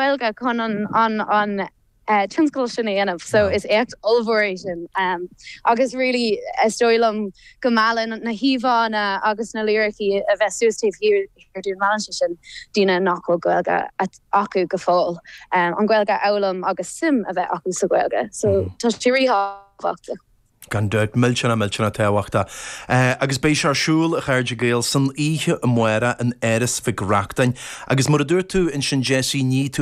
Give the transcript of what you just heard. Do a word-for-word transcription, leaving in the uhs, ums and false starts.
Gaeilge chun an an an uh, tionscal sin a dhéanamh so is éacht ollmhór é sin um, agus really is dóigh liom go meallann na híomhánna agus na liricí a bheith suas taobh thiar dúinn meallann sé sin daoine nach bhfuil Gaeilge acu go fóill um, an Ghaeilge a fhoghlaim agus suim a bheith acu sa Ghaeilge so mm. tá sé ríthábhachtach. Gan dabht millteanach millteanach tábhachtach. Uh, agus beidh sé ar siúl a chairde Gael san oíche amárach in Áras Mhic Reachtain, agus mar a dúirt tú ansin Jessie ní tú